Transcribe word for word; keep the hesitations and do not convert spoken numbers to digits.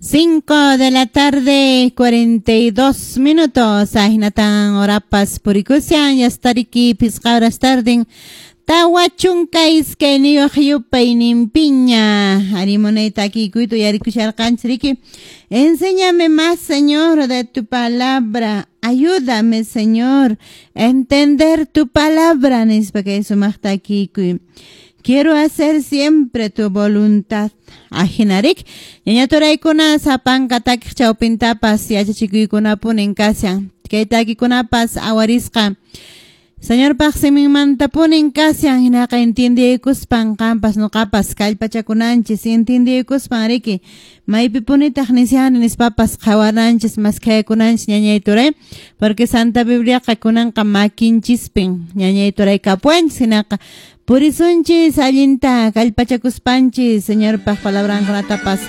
Cinco de la tarde, cuarenta y dos minutos. Ahinatan horapas purikushan, yastariki pisqa horas tarden. Tawa chunka iskayniyuq yupayninpiña. Arimunayta akikuyta uyarikusharqanchis riki. Enséñame más, Señor, de tu palabra. Ayúdame, Señor, a entender tu palabra. Nispa kay sumaqta akikuy. Quiero hacer siempre tu voluntad. Ajinarik. Ñañaturaykuna sapanka takiq chawpintapas yachachikuykunapunin kashan. Kay takikunapas awarisqa. Señorpaq siminmantapunin kashan hinaqa entiendeykuspan qampas nuqapas kallpachakunanchis entiendeykuspan riki maypipunitaq nishani nispapas qhawananchis maskhayakunanchis ñañay turay, porque Santa Bibliaqa kunanqa makinchispin ñañay turay kapuanchis hinaqa purisunchis allinta kallpachakuspanchis Señorpaq palabrankunatapas.